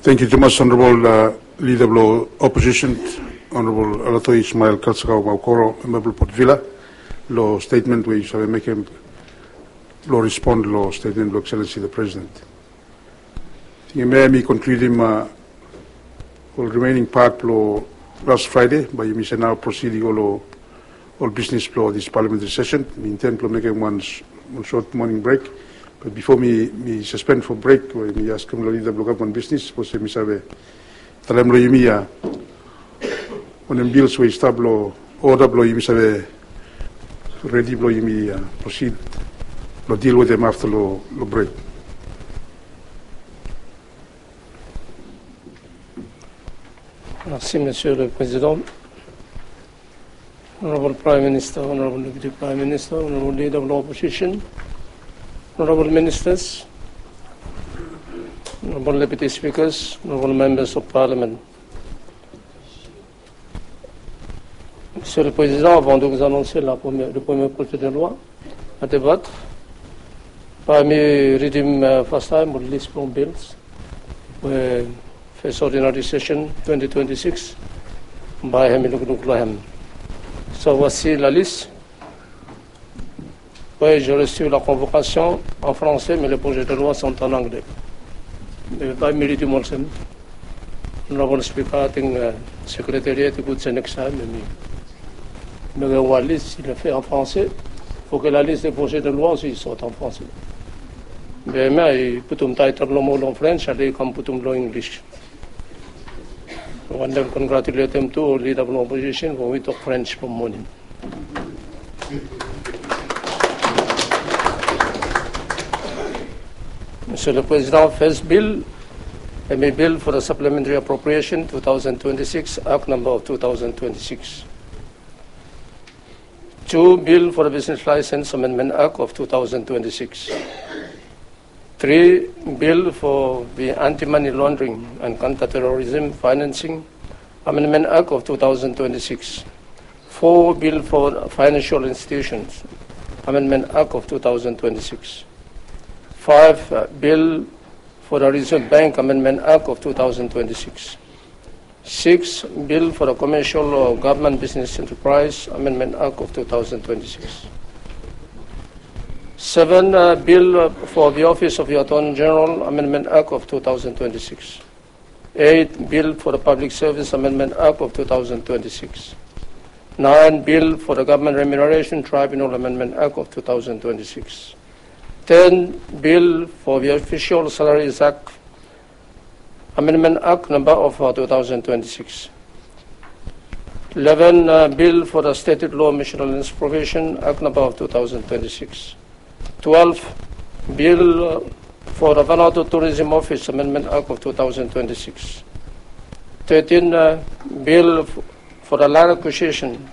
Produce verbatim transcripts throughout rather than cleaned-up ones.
Tangkiu tumas, Honorable, uh, Lida blong Opposition, Honorable Alatoi Ismail Kalsakau Maukoro, memba blong Port Vila, long statement we yu save mekem blong respond long statement blong Excellency the President. Tingim hemia i konkludim, uh, ol remaining part blong last Friday, bae yumi save nao proceed i go long ol bisnis blong this parliamentary session. Mi inten blong mekem wan s-, wan short morning break. But before mi, mi suspend for break, we mi askem long Lida blong Gavman Bisnis, sapos mi save talem long yumi, uh, wanem bills we i stap long oda blong yumi save redi blong yumi, uh, proceed blong deal wetem afta long, long break. Merci, Monsieur le Président. Honorable Prime Minister, Honorable Deputy Prime Minister, Honorable Leader of the Opposition, Honorable Ministers, Honorable Deputy Speakers, Honorable Members of Parliament. Monsieur le Président, avant de vous annoncer la première, le premier projet de loi à débattre, bae mi ridim, uh, fastaem ol lis blong bills we First Ordinary Session twenty twenty-six bae hemi lukluk long hem. So, voici la liste. Oui, j'ai reçu la convocation en français, mais le projet de loi sont en anglais. Bae mi ridim olsem. Honorable Speaker, ating, uh, Secretariat i gud se next time hemi mekem wan lis, i le fait en français. Faut que la liste des projets de loi aussi sorte en français. Be hemia i putum title nomo long French, ale i kam putum long English. Wantem congratulatem tu ol Leader blong Opposition, we wi tok French from morning. Monsieur le Président, first bill, hemi bill for the Supplementary Appropriation two thousand twenty-six, Act number of two thousand twenty-six. Two, bill for the Business License Amendment Act of two thousand twenty-six. Three, bill for the Anti-Money Laundering and Counter-Terrorism Financing Amendment Act of two thousand twenty-six. Four, bill for Financial Institutions Amendment Act of two thousand twenty-six. Five, uh, bill for the Reserve Bank Amendment Act of two thousand twenty-six. Six, bill for the Commercial or Government Business Enterprise Amendment Act of two thousand twenty-six. Seven, uh, bill, uh, for the Office of the Attorney General Amendment Act of two thousand twenty-six. Eight, bill for the Public Service Amendment Act of two thousand twenty-six. Nine, bill for the Government Remuneration Tribunal Amendment Act of two thousand twenty-six. Ten, bill for the Official Salaries Act Amendment Act number of, uh, two thousand twenty-six. Eleven, uh, bill for the Statehood Law Missional Institution Provision Act number of two thousand twenty-six. Twelve, bill, uh, for the Vanuatu Tourism Office Amendment Act of two thousand twenty-six. Thirteen, uh, bill f-, for the Land Acquisition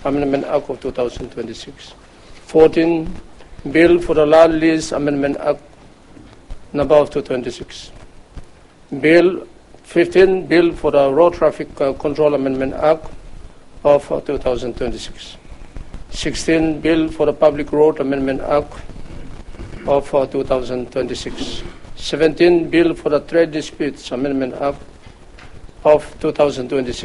Amendment Act of two thousand twenty-six. Fourteen, bill for the Land Lease Amendment Act number of two twenty-six. Bill, fifteen, bill for the Road Traffic, uh, Control Amendment Act of, uh, two thousand twenty-six. Sixteen, bill for the Public Road Amendment Act of, uh, two thousand twenty-six. Seventeen, bill for the Trade Disputes Amendment Act of two thousand twenty-six.